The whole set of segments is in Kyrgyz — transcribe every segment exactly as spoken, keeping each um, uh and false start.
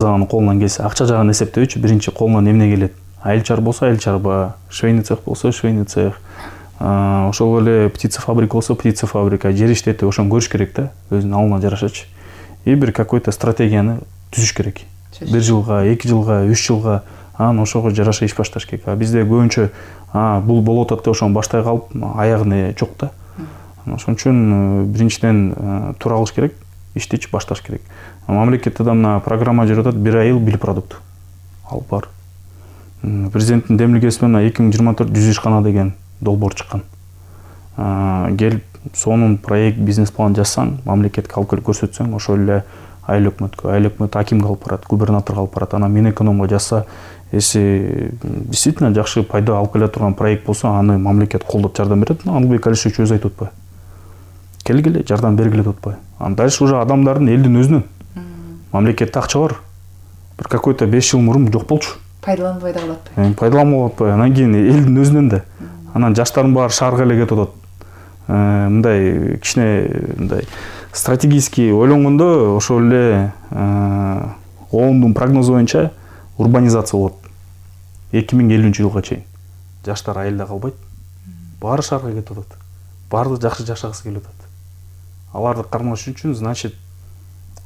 Аны колунан келсе акча жагын эсептөөчү биринчи колунан эмне келет. Айыл чар болсо айыл чарба, швейный цех болсо швейный цех, ошол эле птица фабрика болсо птица фабрика, жер иштети ошону көрүш керек да, өзүнүн алына жарашачы. И бир какой-то стратегияны түзүш керек. Бир жылга, эки жылга, үч жылга анан ошого жараша иш башташ керек. А бизде көбүнчө бул болуп атат деп ошону баштай калып, аягы жок да. Ошон үчүн биринчиден тура кылыш керек, иштечи башташ керек. Мамлекетте да мына программа жүрүп атат, бир айыл бир продукт. Ал бар. Президенттин демилгеси менен эки миң жыйырма төрт жүз ишкана деген долбоор чыккан. Келип сонун проект, бизнес план жазсаң, мамлекетке алып келип көрсөтсөң, ошол эле айыл өкмөткө, айыл өкмөт акимге алып барат, губернаторго алып барат. Анан Минэкономго жазса, если действительно жакшы пайда алып келе турган проект болсо, аны мамлекет колдоп жардам берет. Албек Алишевич өзү айтып атпайбы? Келгиле, жардам бергиле деп атпайбы? Анан дальше уже адамдардын, элдин өзүнүн. Мамлекетте акча бар. Бир какой-то беш жыл мурун жок болчу. Пайдаланбай да калат. Пайдаланбай атпайбы? Анан кийин элдин өзүнөн да. Анан жаштардын баары шаарга эле кетип атат. Мындай кичине мындай стратегический ойлонгондо ошол эле оондун прогнозу боюнча урбанизация болот. эки миң элүүнчү жылга чейин. Жаштар айылда калбайт. Баары шаарга кетип атат. Баардыгы жакшы жашагысы келип атат. Аларды кармаш үчүн, значит,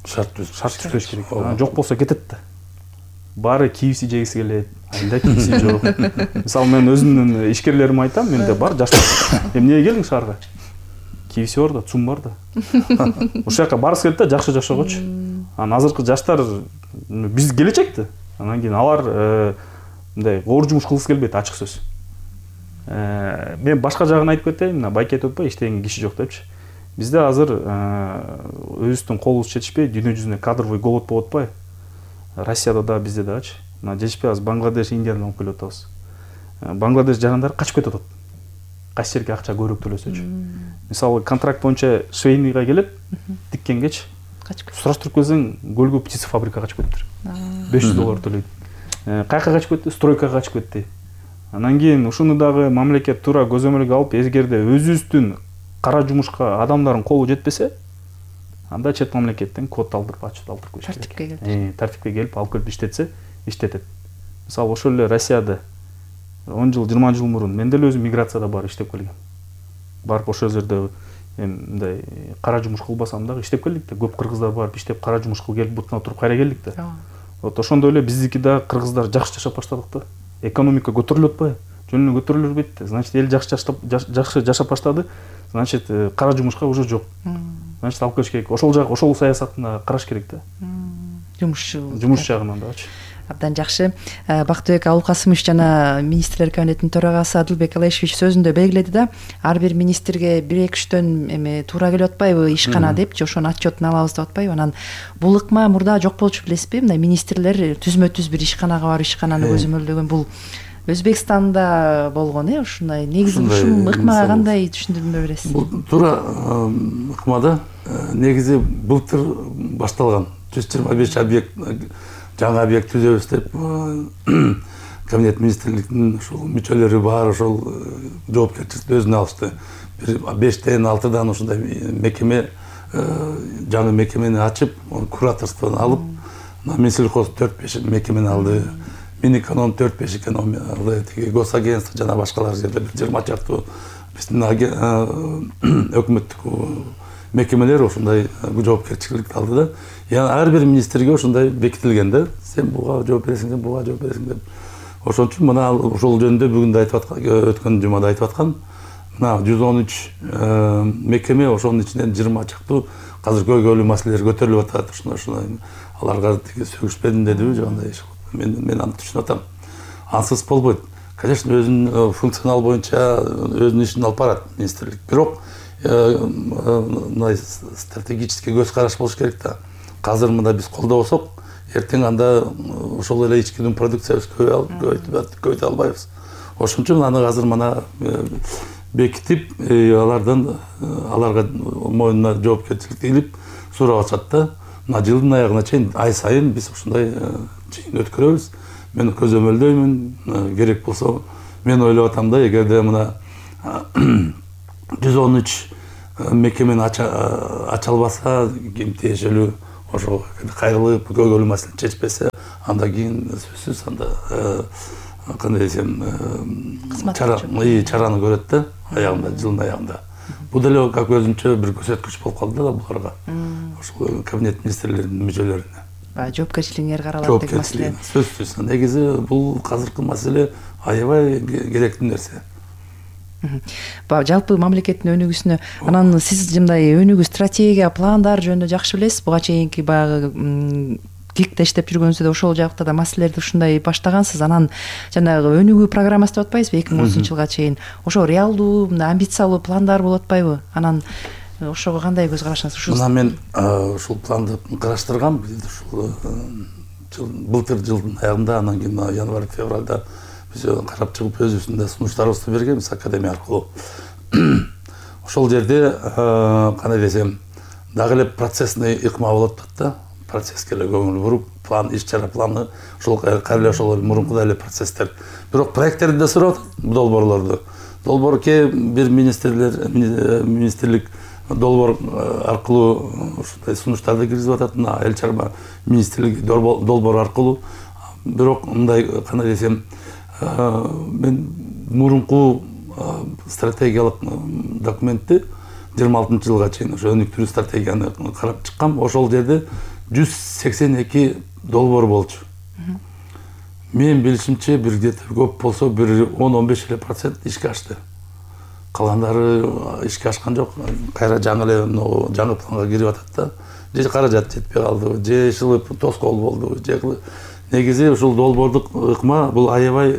шарт түзүш керек. Жок болсо кетет да. Баары кийиси жегиси келет, айылда кийиси жок. Мисалы мен өзүмдүн ишкерлериме айтам, менде бар жаштар. Эмнеге келдиң шаарга? Кийиси бар да, цум бар да. Ошол жака барысы келет да, жакшы жашоогочу. Анан азыркы жаштар биз келечек да. Анан кийин алар мындай оор жумуш кылгысы келбейт, ачык сөз. Мен башка жагын айтып кетейин, мына байке айтып атпайбы, иштеген киши жок депчи. Бизде азыр өзүбүздүн колубуз жетишпей, дүйнө жүзүнө кадровый голод болуп атпайбы? Россияда да, бизде дагычы. Мына жетишпей азыр Бангладеш, Индиядан алып келип атабыз. Бангладеш жарандары качып кетип атат. Кайсы жерге акча көбүрөөк төлөсөчү. Мисалы контракт боюнча швейныйга келип, тиккенгечи качып кетти. Сураштырып келсең, Гөлгө птица фабрикага качып кетиптир. беш жүз доллар төлөйт. Кайка качып кетти? Стройкага качып кетти. Анан кийин ушуну дагы мамлекет туура көзөмөлгө алып, эгерде өзүбүздүн кара жумушка адамдардын колу жетпесе, анда чет мамлекеттен код алдырып, ачып алдырып коюш керек. Тартипке келип. Тартипке келип, алып келип иштетсе, иштетет. Мисалы ошол эле Россияда он жыл, жыйырма жыл мурун мен деле өзүм миграцияда бар иштеп келгем. Барып ошол жерде мындай кара жумуш кылбасам дагы иштеп келдик да. Көп кыргыздар барып иштеп кара жумуш кылып келип бутуна туруп кайра келдик да. Вот ошондой эле биздики да кыргыздар жакшы жашап баштадык да. Экономика көтөрүлүп атпайбы? Жөн эле көтөрүлө бербейт да. Значит, эл жакшы жакшы жашап баштады. Значит, кара жумушка уже жок. Значит, алып келиш керек. Ошол жак, ошол саясатына караш керек да. Жумушчу. Жумуш жагынан дагычы. Абдан жакшы. Бактыбек Абулкасымович жана министрлер кабинетинин төрагасы Адылбек Алишевич сөзүндө белгиледи да, ар бир министрге бир эки үчтөн эме туура келип атпайбы ишкана депчи, ошонун отчетун алабыз деп атпайбы? Анан бул ыкма мурда жок болчу билесизби? Мындай министрлер түзмө-түз бир ишканага барып ишкананы көзөмөлдөгөн бул Өзбекстанда болгон, э, ушундай. Негизи ушул ыкмага кандай түшүндүрмө бересиз? Бул туура ыкмада негизи былтыр башталган жүз жыйырма беш объект, жаңы объект түзөбүз деп кабинет министрликтин ушул мүчөлөрү бар, ошол жоопкерчиликти өзүнө алышты. Бир бештен алтыдан ушундай мекеме, жаңы мекемени ачып, кураторствону алып, Минсельхоз төрт беш мекемени алды. Минэконом төрт беш экономия алды, госагентство жана башкалар жерде бир жыйырма чактуу биздин өкмөттүк мекемелер ушундай жоопкерчиликти алды да. Яны ар бир министрге ушундай бекитилген да. Сен буга жооп бересиң, сен буга жооп бересиң деп. Ошон үчүн мына ошол жөнүндө бүгүн да айтып аткан, өткөн жумада айтып аткан, мына жүз он үч мекеме, ошонун ичинен жыйырма чактуу азыр көйгөйлүү маселелер көтөрүлүп атат. Ушуну ушуну аларга тиги сөгүшпедим дедиби, жагандай иш. Мен мен аны түшүнүп атам. Ансыз болбойт. Конечно, өзүнүн функционал боюнча өзүнүн ишин алып барат министрлик. Бирок мындай стратегический көз караш болуш керек да. Азыр мында биз колдобосок, эртең анда ошол эле ичкидин продукциябыз көбөйтө албайбыз. Ошон үчүн аны азыр мына бекитип, алардан аларга мойнуна жоопкерчиликти илип сурап атышат да. Мына жылдын аягына чейин ай сайын биз ушундай чейин өткөрөбүз. Мен көзөмөлдөймүн, керек болсо мен ойлоп атам да, эгерде мына жүз он үч мекемени ача албаса, ким тиешелүү ошо кайрылып көйгөйлүү маселени чечпесе, андан кийин сөзсүз анда кандай десем чара чараны көрөт да аягында, жылдын аягында. Бул деле как өзүнчө бир көрсөткүч болуп калды да буларга. Ошол кабинет министрлеринин мүчөлөрүнө. Жоопкерчилигиңер каралат деген маселе. Сөзсүз. Негизи бул азыркы маселе аябай керектүү нерсе. Жалпы мамлекеттин өнүгүүсүнө анан сиз мындай өнүгүү стратегия, пландар жөнүндө жакшы билесиз. Буга чейинки баягы КИКте иштеп жүргөнүздө да ошол жакта да маселелерди ушундай баштагансыз. Анан жанагы өнүгүү программасы деп атпайсызбы эки миң отузунчу жылга чейин. Ошо реалдуу, амбициялуу пландар болуп атпайбы? Анан ошого кандай көз карашыңыз? Мына мен ушул планды караштыргам. Ушул былтыр жылдын аягында, анан кийин январь февралда биз карап чыгып өзүбүздүн да сунуштарыбызды бергенбиз академия аркылуу. Ошол жерде кандай десем, дагы эле процессный ыкма болуп атат да. Процесске эле көңүл буруп, план, иш-чара планы, ошол кайра эле ошол мурункудай эле процесстер. Бирок проекттерди да сурап атат, долбоорлорду. Долбоор ке бир министрлер, министрлик долбоор аркылуу ушундай сунуштарды киргизип атат. Мына эл чарба министрлиги долбоор аркылуу. Бирок мындай кандай десем, мен мурунку стратегиялык документти жыйырма алтынчы жылга чейин ошо өнүктүрүү стратегияны карап чыккам. Ошол жерде жүз сексен эки долбоор болчу. Мен билишимче бир где-то көп болсо бир он он беш эле процент ишке ашты. Калгандары ишке ашкан жок. Кайра жаңы эле жаңы планга кирип атат да. Же каражат жетпей калды, же ишылып тоскоол болду, же негизи ушул долбоордук ыкма бул аябай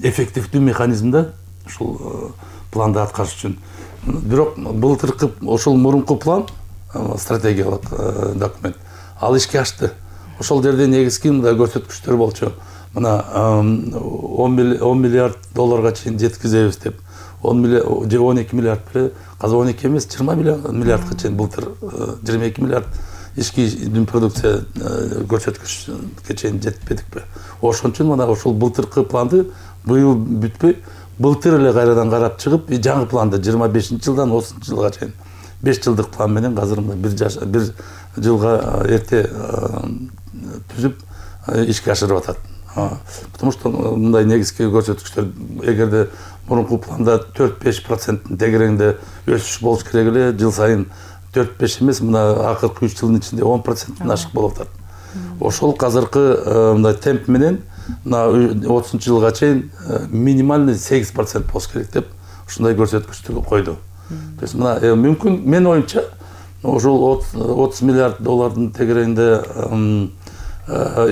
эффективдүү механизм да ушул планды аткарыш үчүн. Бирок былтыркы ошол мурунку план стратегиялык документ ал ишке ашты. Ошол жерде негизги мындай көрсөткүчтөр болчу. Мына он миллиард долларга чейин жеткизебиз деп. он миллиард же он эки миллиард беле, азыр он эки эмес, жыйырма миллиардга чейин былтыр жыйырма эки миллиард ички продукция көрсөткүчкө чейин жетпедикпи? Ошон үчүн мына ошол былтыркы планды быйыл бүтпөй, былтыр эле кайрадан карап чыгып, жаңы планды жыйырма бешинчи жылдан отузунчу жылга чейин беш жылдык план менен азыр бир бир жылга эрте түзүп ишке ашырып атат. Потому что мындай негизги көрсөткүчтөр эгерде мурунку планда төрт беш проценттин тегерегинде өсүш болуш керек эле, жыл сайын төрт беш эмес, мына акыркы үч жылдын ичинде он проценттен ашык болуп атат. Ошол азыркы мындай темп менен мына отузунчу жылга чейин минимальный сегиз процент болуш керек деп ушундай көрсөткүчтү койду. То есть мына мүмкүн мен оюмча ошол отуз миллиард доллардын тегерегинде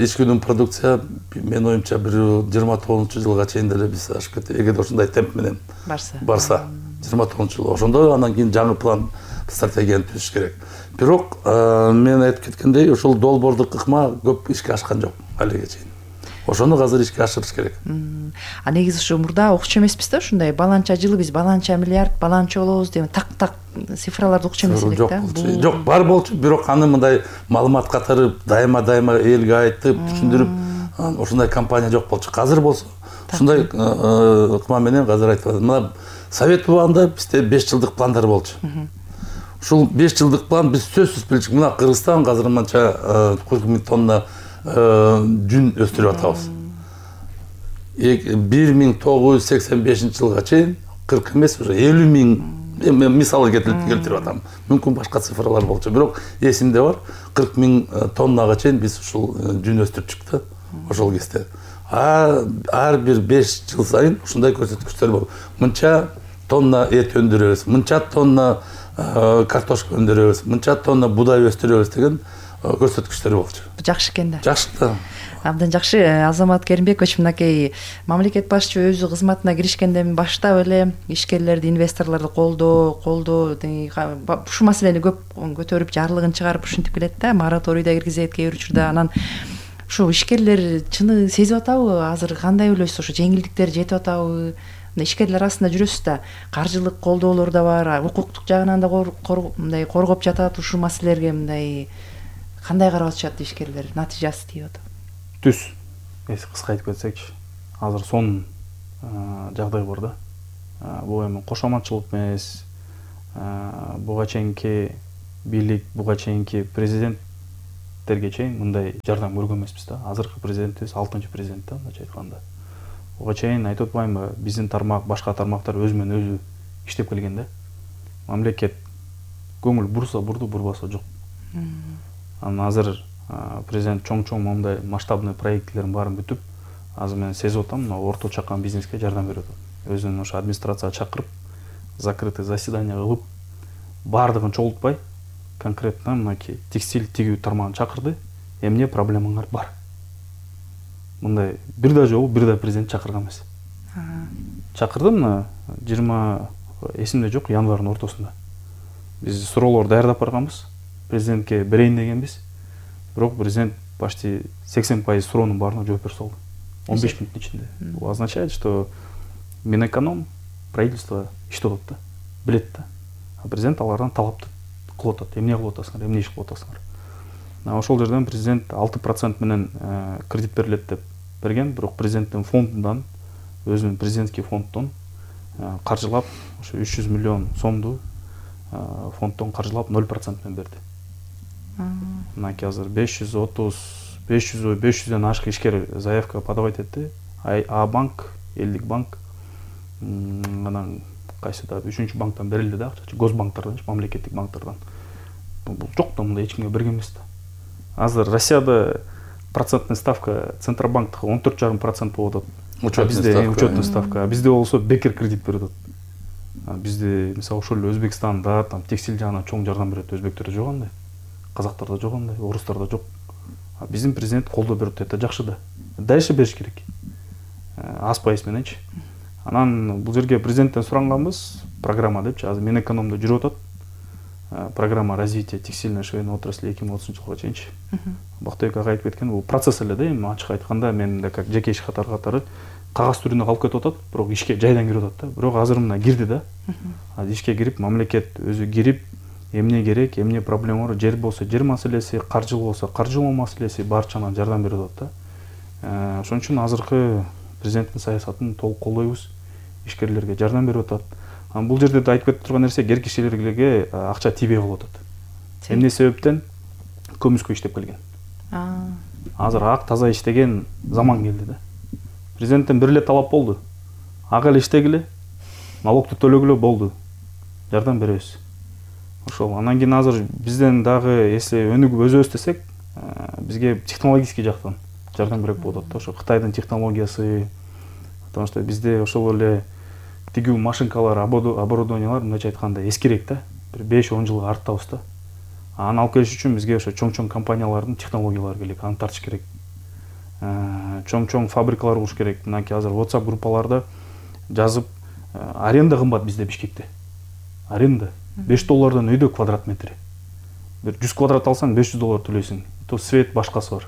ички өнүм продукция мен оюмча бир жыйырма тогузунчу жылга чейин деле биз ашып кетет. Эгерде ушундай темп менен барса, барса жыйырма тогузунчу жыл. Ошондо андан кийин жаңы план, стратегияны түзүш керек. Бирок мен айтып кеткендей, ошол долбоордук ыкма көп ишке ашкан жок алиге чейин. Ошону азыр ишке ашырыш керек. А негизи ушу мурда окчу эмеспиз да, ушундай баланча жылы биз баланча миллиард, баланча болобуз деп так-так цифраларды окчу эмес элек да. Жок, бар болчу, бирок аны мындай маалымат катары дайыма-дайыма элге айтып, түшүндүрүп, ошондой компания жок болчу. Азыр болсо ушундай ыкма менен азыр айтып атат. Мына Совет убагында бизде беш жылдык пландар болчу. Ушул беш жылдык план биз сөзсүз билчүк. Мына Кыргызстан азыр мынча кырк миң тонна жүн өстүрүп атабыз. бир миң тогуз жүз сексен бешинчи жылга чейин кырк эмес, уже элүү миң мисалы келтирип атам. Мүмкүн башка цифралар болчу, бирок эсимде бар. кырк миң тоннага чейин биз ушул жүн өстүрчүк да ошол кезде. Ар бир беш жыл сайын ушундай көрсөткүчтөр болуп, мынча тонна эт өндүрөбүз, мынча тонна картошка өндүрөбүз, мынча тонна будай өстүрөбүз деген көрсөткүчтөр болчу. Жакшы экен да. Жакшы да. Абдан жакшы. Азамат Керимбекович, мынакей мамлекет башчы өзү кызматына киришкенден баштап эле ишкерлерди, инвесторлорду колдоо, колдоо ушул маселени көп көтөрүп, жарлыгын чыгарып ушинтип келет да, мораторий да киргизет кээ бир учурда. Анан ушу ишкерлер чыны сезип атабы? Азыр кандай ойлойсуз? Ошо жеңилдиктер жетип атабы? Ишкерлер арасында жүрөсүз да, каржылык колдоолор да бар, укуктук жагынан да мындай коргоп жатат. Ушул маселелерге мындай кандай карап атышат ишкерлер? Натыйжасы тийип атат? Түз. Эси кыска айтып кетсекчи, азыр сонун жагдай бар да. Бул эми кошоматчылык эмес. Буга чейинки бийлик буга чейинки президенттерге чейин мындай жардам көргөн эмеспиз да. Азыркы президентибиз алтынчы президент да, мындайча айтканда. Буга чейин айтып атпаймынбы, биздин тармак, башка тармактар өзү менен өзү иштеп келген да. Мамлекет көңүл бурса бурду, бурбаса жок. Анан азыр президент чоң-чоң мондай масштабный проектлерин баарын бүтүп, азыр мен сезип атам, мына орто чакан бизнеске жардам берип атат. Өзүнүн ошо администрацияга чакырып, закрытый заседание кылып, баардыгын чогултпай, конкретно мынакей текстиль тигүү тармагын чакырды. Эмне проблемаңар бар? Мындай бир да жолу бир да президент чакырган эмес. Чакырды мына жыйырма эсимде жок, январдын ортосунда. Биз суроолор даярдап барганбыз. Президентке берейин дегенбиз. Бирок президент почти сексен пайыз суроонун баарына жооп бере салды. он беш мүнөттүн ичинде. Бул означает, что Минэконом, правительство иштеп атат да, билет да. А президент алардан талап кылып атат. Эмне кылып атасыңар, эмне иш кылып атасыңар? Ошол жерден президент алты процент менен кредит берилет деп берген, бирок президенттин фондундан, өзүнүн президентский фонддон каржылап, ошо үч жүз миллион сомду фонддон каржылап ноль процент менен берди. Мынакей азыр беш жүз отуз, беш жүз, беш жүздөн ашык ишкер заявка подавать этти. А банк, элдик банк, анан кайсы да үчүнчү банктан берилди да, акча, госбанктардан, мамлекеттик банктардан. Бул жок да, мындай эч кимге берген эмес да. Азыр Россияда процентный ставка Центробанктыкы он төрт жарым процент болуп атат. Учетный учетный ставка. Бизде болсо бекер кредит берип атат. Бизде мисалы ошол эле Өзбекстанда там текстиль жагынан чоң жардам берет. Өзбектерде жок андай, казактарда жок андай, орустарда жок. Биздин президент колдоо берип атат, жакшы да. Дальше бериш керек. Аз пайыз мененчи. Анан бул жерге президенттен суранганбыз, программа депчи, азыр Минэкономдо жүрүп атат. Программа развития текстильной швейной отрасли эки миң отузунчу жылга чейинчи. Бактыбек ага айтып кеткен, бул процесс эле да, эми ачык айтканда мен да как жеке иш катары катары кагаз түрүндө калып кетип атат, бирок ишке жайдан кирип атат да. Бирок азыр мына кирди да. Азыр ишке кирип, мамлекет өзү кирип, эмне керек, эмне проблема бар, жер болсо жер маселеси, каржылуу болсо каржылоо маселеси барчанан жардам берип атат да. Ошон үчүн азыркы президенттин саясатын толук колдойбуз. Ишкерлерге жардам берип атат. Бул жерде да айтып кетип турган нерсе, кер кишилерге акча тийбей калып атат. Эмне себептен? Көмүскө иштеп келген. Азыр ак таза иштеген заман келди да. Президенттен бир эле талап болду. Ак эле иштегиле, налогду төлөгүлө болду. Жардам беребиз. Ошол. Анан кийин азыр бизден дагы если өнүгүп өзүбүз десек, бизге технологический жактан жардам берип болот да. Ошо Кытайдын технологиясы, потому что бизде ошол эле тигүү машинкалар, оборудованиялар мындайча айтканда эскирээк да. Бир беш он жылга арттабыз да. Аны алып келиш үчүн бизге ошо чоң-чоң компаниялардын технологиялары керек, аны тартыш керек. Чоң-чоң фабрикалар куруш керек. Мынакей азыр WhatsApp группаларда жазып, аренда кымбат бизде Бишкекте. Аренда беш доллардан өйдө квадрат метри. Бир жүз квадрат алсаң беш жүз доллар төлөйсүң. То свет башкасы бар.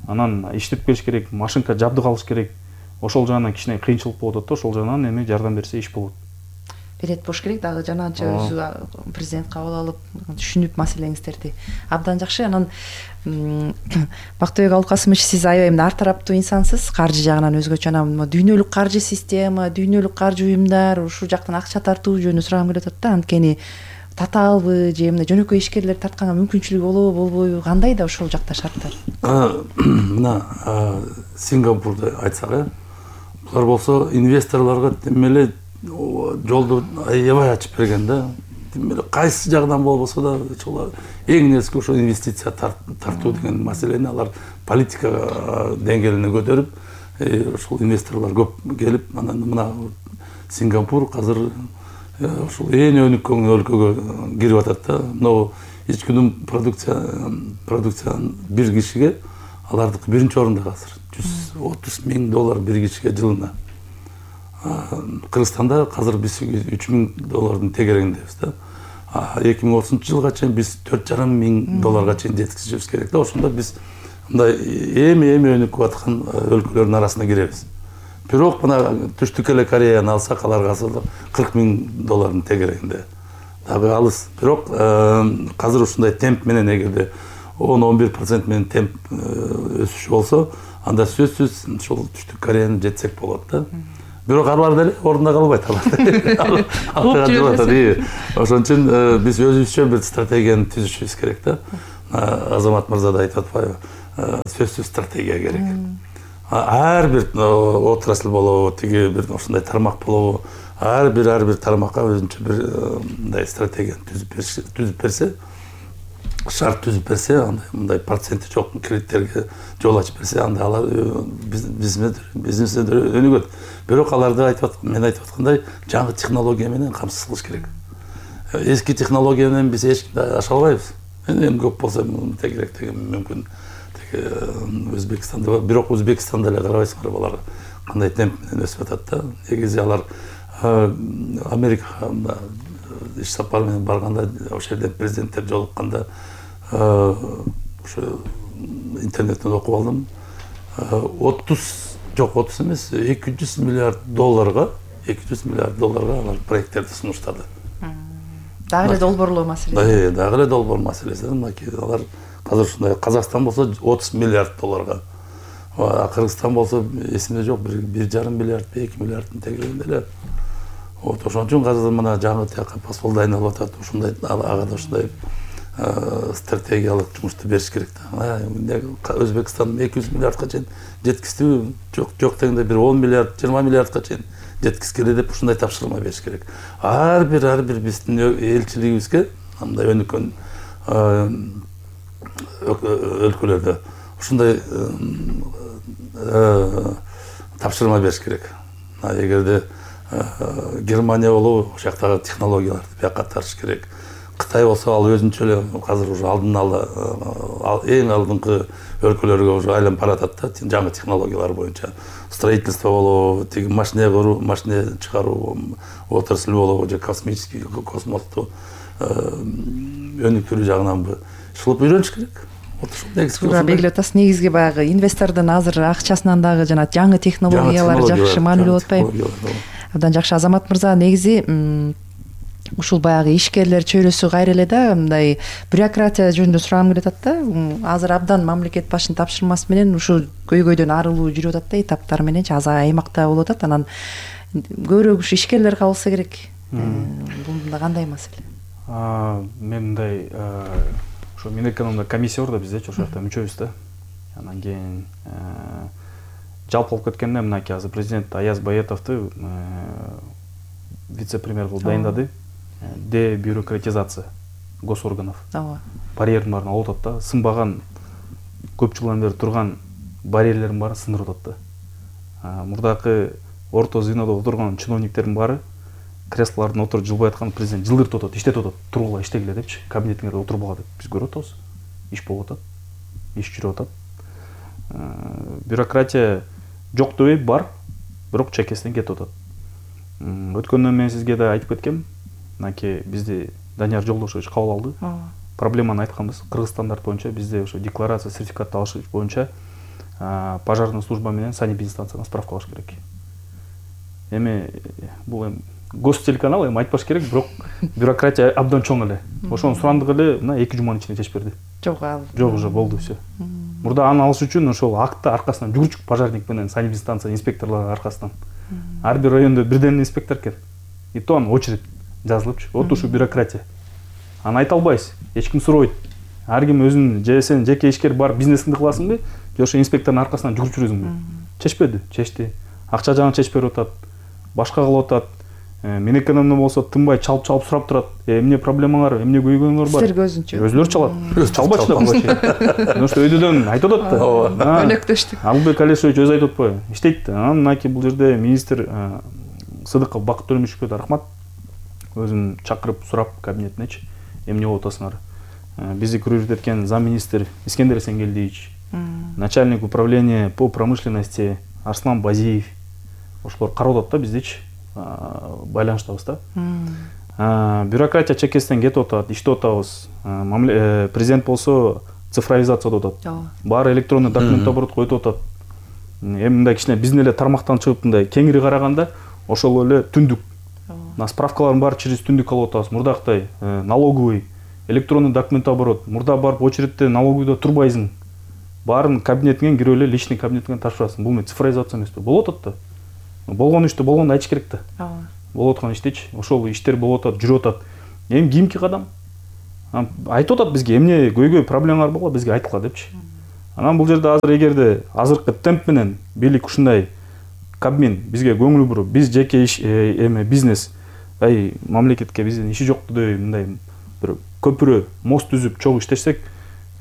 Анан иштеп келиш керек, машинка жабдык алыш керек. Ошол жагынан кичине кыйынчылык болуп атат да, ошол жагынан эми жардам берсе иш болот. Берет болуш керек дагы, жанагынча өзү президент кабыл алып, түшүнүп маселеңиздерди. Абдан жакшы. Анан Бактыбек Абылкасымович, сиз аябай ар тараптуу инсансыз, каржы жагынан өзгөчө. Анан дүйнөлүк каржы система, дүйнөлүк каржы уюмдар, ушул жактан акча тартуу жөнүндө сурагым келип атат да. Анткени татаалбы же эмне жөнөкөй ишкерлер тартканга мүмкүнчүлүгү болобу, болбойбу, кандай да ошол жакта шарттар? Мына Сингапурду айтсак, булар болсо инвесторлорго темеле жолду аябай ачып берген да. Темеле кайсы жагынан болбосо да, ошол эң нерсе ошо инвестиция тартуу деген маселени алар политика деңгээлине көтөрүп, ошол инвесторлор көп келип, анан мына Сингапур азыр ошол эң өнүккөн өлкөгө кирип атат да. Мына ичкүнүм продукция продукциянын бир кишиге алардыкы биринчи орунда азыр жүз отуз миң доллар бир кишиге жылына. Кыргызстанда азыр биз үч миң доллардын тегерегиндебиз да. эки миң отузунчу жылга чейин биз төрт жарым миң долларга чейин жеткизишибиз керек да. Ошондо биз мындай эми эми өнүкүп аткан өлкөлөрдүн арасына киребиз. Бирок мына түштүк эле Кореяны алсак, аларга кырк миң доллардын тегерегинде. Дагы алыс. Бирок азыр ушундай темп менен эгерде он он бир процент менен темп өсүш болсо, анда сөзсүз ошол түштүк Кореяны жетсек болот да. бирок алар деле ордунда калбайт алар. Кууп жүрбөсүн. Ошон үчүн биз өзүбүзчө бир стратегияны түзүшүбүз керек да. Азамат мырза да айтып атпайбы? Сөзсүз стратегия керек. Ар бир отрасль болобу, тиги бир ушундай тармак болобу, ар бир ар бир тармакка өзүнчө бир мындай стратегияны түзүп берсе, шарт түзүп берсе, андай мындай проценти жок кредиттерге жол ачып берсе, анда алар бизнесте өнүгөт. Бирок аларды айтып мен айтып аткандай жаңы технология менен камсыз кылыш керек. Эски технология менен биз эч кимди аша албайбыз. Эми көп болсо мындай керек деген мүмкүн. Өзбекстанда, бирок Өзбекстанда эле карабайсыңар, алар кандай темп менен өсүп атат да. Негизи алар Америкага иш сапар менен барганда, ошол жерде президенттер жолукканда ошо интернеттен окуп алдым. отуз жок отуз эмес, эки жүз миллиард долларга, эки жүз миллиард долларга алар проекттерди сунуштады. Дагы эле долбоорлоо маселеси. Да, дагы эле долбоор маселеси. Алар азыр ушундай, Казакстан болсо отуз миллиард долларга. Кыргызстан болсо эсимде жок, бир жарым миллиард, эки миллиарддын тегерегинде эле. Вот ошон үчүн азыр мына жаңы тияка посол айналып атат. Ушундай ага да ушундай стратегиялык жумушту бериш керек да. Өзбекстан эки жүз миллиардка чейин жеткиздүү, жок жок дегенде бир он миллиард, жыйырма миллиардка чейин жеткизгиле деп ушундай тапшырма бериш керек. Ар бир ар бир биздин элчилигибизге мындай өнүккөн өлкөлөрдө ушундай тапшырма бериш керек. Эгерде Германия болобу, ошол жактагы технологияларды бияка тартыш керек. Кытай болсо ал өзүнчө эле азыр уже алдын ала эң алдыңкы өлкөлөргө уже айланып баратат да, жаңы технологиялар боюнча. Строительство болобу, тиги машина куруу, машина чыгаруу отрасль болобу, же космический космосту өнүктүрүү жагынан шылып үйрөнүш керек. Туура белгилеп атасыз. Негизги баягы инвестордун азыр акчасынан дагы жана жаңы технологиялар жакшы маанилүү болуп атпайбы? Абдан жакшы. Азамат мырза, негизи ушул баягы ишкерлер чөйрөсү кайра эле да мындай бюрократия жөнүндө сурагым келип атат да. Азыр абдан мамлекет башынын тапшырмасы менен ушул көйгөйдөн арылуу жүрүп атат да, этаптар мененчи аз аймакта болуп атат. Анан көбүрөөк ушу ишкерлер кабылса керек. Бул кандай маселе? Мен мындай ошо Минэкономдо комиссия бар да биздечи, ошол жакта мүчөбүз да. Анан кийин жалпы алып кеткенде мынакей азыр президент Аяз Баетовду вице-премьер кылып дайындады. Дебюрократизация госорганов. Ооба. Барьердин баарын алып атат да. Сынбаган көп жылдан бери турган барьерлердин баарын сындырып атат да. Мурдакы орто звенодо отурган чиновниктердин баары креслолордун отуруп жылбай аткан президент жылдыртып атат, иштетип атат. Тургула иштегиле депчи, кабинетиңерде отурбага деп. Биз көрүп атабыз. Иш болуп атат. Иш жүрүп атат. Бюрократия жок дебей бар, бирок чекесинен кетип атат. Өткөндөн мен сизге да айтып кеткем. Мынакей бизди Данияр Жолдошевич кабыл алды. Проблеманы айтканбыз. Кыргыз стандарт боюнча бизде ошо декларация, сертификат алыш боюнча пожарный служба менен санэпидстанцияга справка алыш керек. Эми бул эми гостелеканал, эми айтпаш керек, бирок бюрократия абдан чоң эле. Ошону сурандык эле мына эки жуманын ичинде чечип берди. Жок, ал. Жок, уже болду все. Мурда аны алыш үчүн ошол акты аркасынан жүгүрчүк пожарник менен санэпидстанция инспекторлор аркасынан. Ар бир райондо бирден инспектор экен. И то анын очередь жазылыпчы. Вот ушу бюрократия. Аны айта албайсыз. Эч ким сурабайт. Ар ким өзүнүн же сен жеке ишкер бар бизнесиңди кыласыңбы, же ошо инспектордун аркасынан жүгүрүп жүрөсүңбү? Чечпеди, чечти. Акча жагын чечип берип атат. Башка кылып атат. Минэкономдо болсо тынбай чалып-чалып сурап турат. Эмне проблемаңар, эмне көйгөйүңөр бар? Силерге өзүнчө. Өзүлөрү чалат. Чалбачы да болчу. Потому что өйдөдөн айтып атат да. Өнөктөштүк. Албек Алишевич өзү айтып атпайбы? Иштейт. Анан мынакей бул жерде министр Сыдыков Бакыт Төлөмүшевке да рахмат. Өзүн чакырып сурап кабинетинечи эмне болуп атасыңар? Бизди күрөжүп эткен замминистр Искендер Эсенгелдиевич, начальник управления по промышленности Арслан Базиев. Ошолор карап атат да биздечи. Байланыштабыз да. Бюрократия чекесинен кетип атат, иштеп атабыз. Президент болсо цифровизация деп атат. Баары электронный документ оборот коюп атат. Эми мындай кичине биздин эле тармактан чыгып мындай кеңири караганда ошол эле түндүк. Мына справкалардын баары через түндүк алып атабыз. Мурдактай налоговый, электронный документ оборот. Мурда барып очередте налоговыйда турбайсың. Баарын кабинетиңен кирип эле личный кабинетиңен тапшырасың. Бул мен цифровизация эмеспи? Болуп атат да. болгон ишти болгондо айтыш керек да. ооба. Болуп аткан иштечи, ошол иштер болуп атат, жүрүп атат. Эми кийинки кадам айтып атат бизге эмне көйгөй проблемалар болгон, бизге айткыла депчи. Анан бул жерде азыр эгерде азыркы темп менен бийлик ушундай Кабмин бизге көңүл буруп, биз жеке иш эме бизнес, ай мамлекетке биздин иши жок деп мындай бир көпүрө, мост түзүп чогуу иштесек,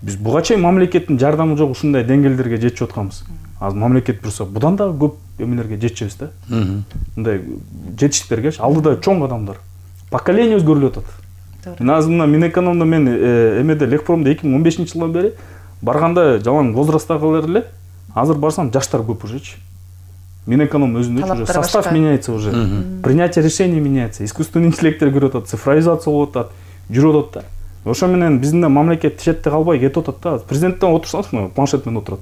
биз буга чейин мамлекеттин жардамы жок ушундай деңгээлдерге жетип атканбыз. Азыр мамлекет бурса, будан да көп эмелерге жетишебиз да. Мындай жетиштиктерге алдыда чоң адамдар. Поколение өзгөрүлүп атат. Мен азыр мына Минэкономдо мен эмеде Лекпромдо эки миң он бешинчи жылдан бери барганда жалаң возрасттагылар эле, азыр барсам жаштар көп ужечи. Минэконом өзүндө уже состав меняется уже. Принятие решений меняется. Искусственный интеллекттер кирип атат, цифровизация болуп атат, жүрүп атат да. Ошо менен биздин мамлекет четте калбай кетип атат да. Президенттен отурсаңыз, планшет менен отурат.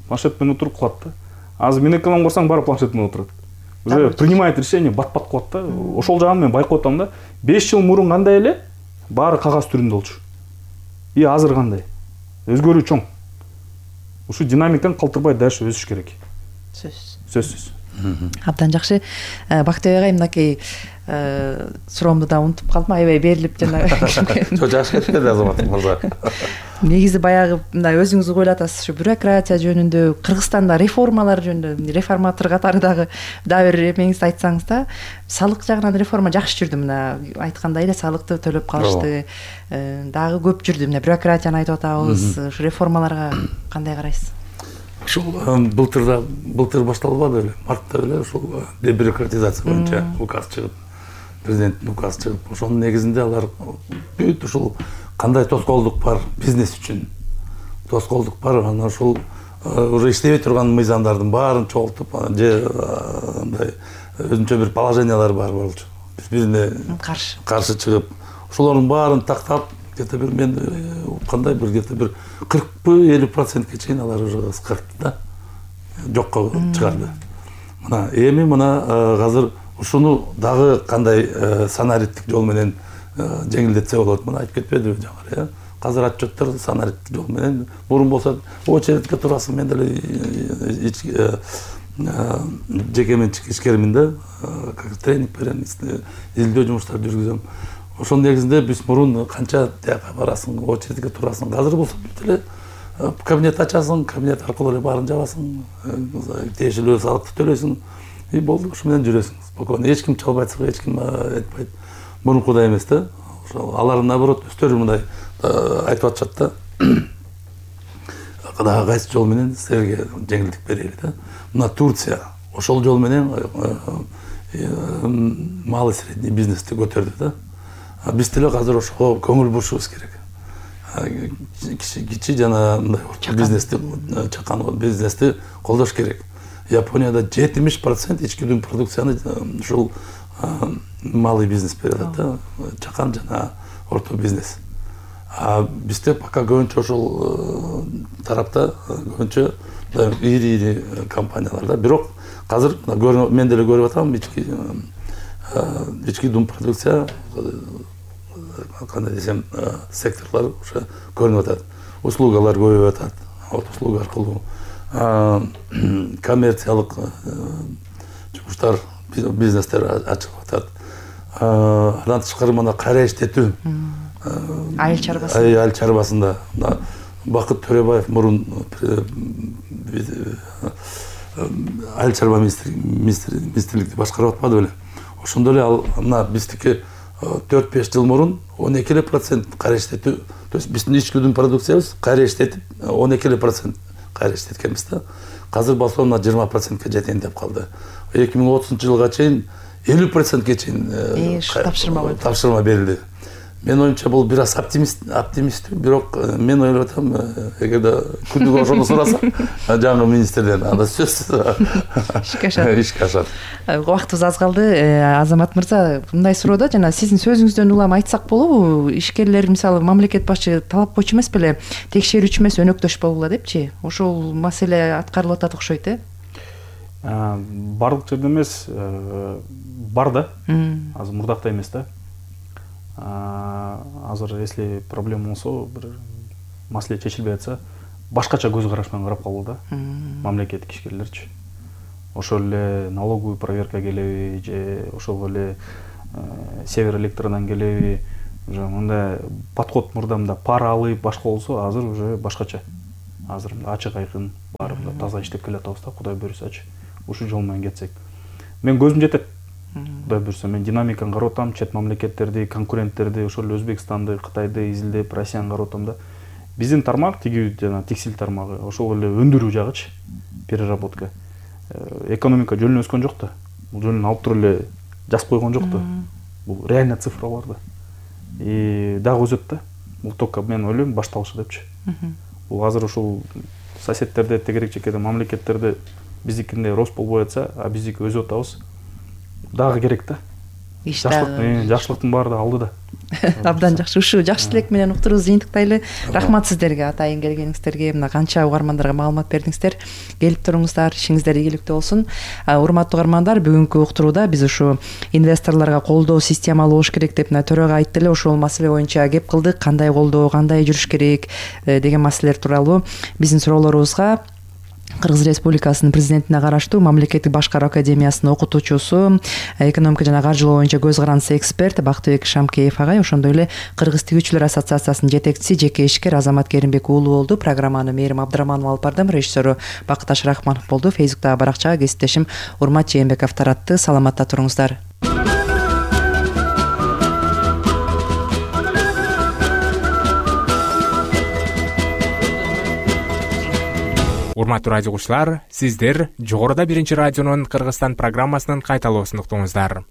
Планшет менен отуруп кылат да. Азыр Минэконом барсаң баары планшет менен отурат. Уже принимает решение бат-бат кылат да. Ошол жагын мен байкап атам да. беш жыл мурун кандай эле баары кагаз түрүндө болчу. И азыр кандай? Өзгөрүү чоң. Ушу динамиканы калтырбай дальше өсүш керек. Сөзсүз. Сөзсүз. Абдан жакшы. Бактыбек агай, мынакей суроомду да унутуп калдым, аябай берилип жана. Жок, жакшы кетти Азамат мырза. Негизи баягы мындай өзүңүз ойлоп атасыз, ушу бюрократия жөнүндө, Кыргызстанда реформалар жөнүндө, реформатор катары дагы дагы бир эмеңизди айтсаңыз да, салык жагынан реформа жакшы жүрдү, мына айткандай эле салыкты төлөп калышты. Дагы көп жүрдү, мына бюрократияны айтып атабыз, ушу реформаларга кандай карайсыз? Ушул былтыр былтыр башталбады эле, мартта эле ушул дебюрократизация боюнча указ чыгып, президенттин указы чыгып, ошонун негизинде алар бүт ушул кандай тоскоолдук бар бизнес үчүн, тоскоолдук бар, анан ушул уже иштебей турган мыйзамдардын баарын чогултуп, же мындай өзүнчө бир положениялар бар болчу. Биз бирине каршы каршы чыгып, ошолордун баарын тактап, где-то бир мен уккандай бир где-то бир кыркпы элүү процентке чейин алар уже кыскартты да, жокко чыгарды. Мына эми мына азыр ушуну дагы кандай санариттик жол менен жеңилдетсе болот, мына айтып кетпедиби жаңы, э? Азыр отчеттер санариттик жол менен, мурун болсо очередке турасың, мен деле жеке менчик ишкермин да, тренинг берем, изилдөө жумуштарды жүргүзөм. Ошонун негизинде биз мурун канча тияка барасың, очередке турасың. Азыр болсо бүт эле кабинет ачасың, кабинет аркылуу эле баарын жабасың, тиешелүү салыкты төлөйсүң, и болду, ушу менен жүрөсүң. Спокойно, эч ким чалбайт, эч ким айтпайт. Мурункудай эмес да. Ошол алар наоборот өздөрү мындай айтып атышат да. Дагы кайсы жол менен силерге жеңилдик берели да. Мына Турция ошол жол менен малый средний бизнести көтөрдү да. Биз деле азыр ошого көңүл бурушубуз керек. Кичи кичи жана мындай орто бизнести, чакан бизнести колдош керек. Японияда жетимиш процент ички дүң продукцияны ушул малый бизнес берет да, чакан жана орто бизнес. А бизде пока көбүнчө ошол тарапта көбүнчө ири-ири компаниялар да. Бирок азыр мен деле көрүп атам, ички ички дүң продукция, кандай десем, секторлар уже көрүнүп атат. Услугалар көбөйүп атат, услуга аркылуу коммерциялык жумуштар, бизнестер ачылып атат. Андан тышкары мына кайра иштетүү, айыл чарбасы, айыл чарбасында Бакыт Төрөбаев мурун айыл чарба министрликти башкарып атпады беле. Ошондо эле ал мына биздики төрт беш жыл мурун он эки процент кайра иштетүү, то есть биздин ички дүң продукциябыз кайра иштетип он эки процент кайра иштеткенбиз да. Азыр болсо мына жыйырма процентке жетейин деп калды. эки миң отузунчу жылга чейин элүү процентке чейин тапшырма тапшырма берилди. Мен оюмча бул бир аз оптимист, оптимисттүү, бирок мен ойлоп атам, эгерде күндүк ошону сураса, жаңы министрден анда сөз ишке ашат. Ишке ашат. Убактыбыз аз калды. Азамат мырза, мындай суроо да, жана сиздин сөзүңүздөн улам айтсак болобу, ишкерлер мисалы мамлекет башчы талап койчу эмес беле, текшерүүчү эмес өнөктөш болгула депчи. Ошол маселе аткарылып атат окшойт, э? Барлык жерде эмес, бар да. Азыр мурдакта эмес да. Азыр если проблема болсо, бир маселе чечилбей атса, башкача көз караш менен карап калуу да, мамлекеттик ишкерлерчи. ошол эле налоговый проверка келеби же ошол эле север электродан келеби, уже мындай подход мурдамда пара алып башка болсо, азыр уже башкача. Азыр ачык айкын баарында таза иштеп келатабыз да, Кудай буйрсачы. Ушул жол менен кетсек. Мен көзүм жетет. Кудай буйрса, мен динамиканы карап атам, чет мамлекеттерди, конкуренттерди, ошол Өзбекстанды, Кытайды изилдеп, Россияны карап атам да. Биздин тармак тиги жана текстиль тармагы, ошол эле өндүрүү жагычы, переработка. Экономика жөнүнө өскөн жок да. Бул жөнүн алып туруп эле жазып койгон жок да. Бул реально цифралар да. И дагы өсөт да. Бул только мен ойлойм башталышы депчи. Бул азыр ушул соседтерде, тегерек чекеде мамлекеттерде биздикиндей рост болбой атса, а биздики өсүп атабыз. Дагы керек да. Жакшылык, жакшылыктын баары да алды да. Абдан жакшы. Ушул жакшы тилек менен уктуруубузду жыйынтыктайлы. Рахмат сиздерге, атайын келгениңиздерге, мына канча угармандарга маалымат бердиңиздер. Келип туруңуздар, ишиңиздер ийгиликтүү болсун. Урматтуу угармандар, бүгүнкү уктурууда биз ушу инвесторлорго колдоо системалуу болуш керек деп мына төрага айтты эле, ошол маселе боюнча кеп кылдык. Кандай колдоо, кандай жүрүш керек деген маселелер тууралуу биздин суроолорубузга Кыргыз Республикасынын президентине караштуу Мамлекеттик башкаруу академиясынын окутуучусу, экономика жана каржылоо боюнча көз карандысы эксперт Бактыбек Шамкеев агай, ошондой эле Кыргыз тигүүчүлөр ассоциациясынын жетекчиси жеке ишкер Азамат Керимбек уулу болду. Программаны Мээрим Абдыраманова алып бардым, режиссеру Бакыташ Рахманов болду. Фейсбуктагы баракчага кесиптешим Урмат Жээнбеков таратты. Саламатта туруңуздар. Урматтуу радио угуучулар, сиздер жогоруда биринчи радионун Кыргызстан программасынын кайталоосун уктуңуздар.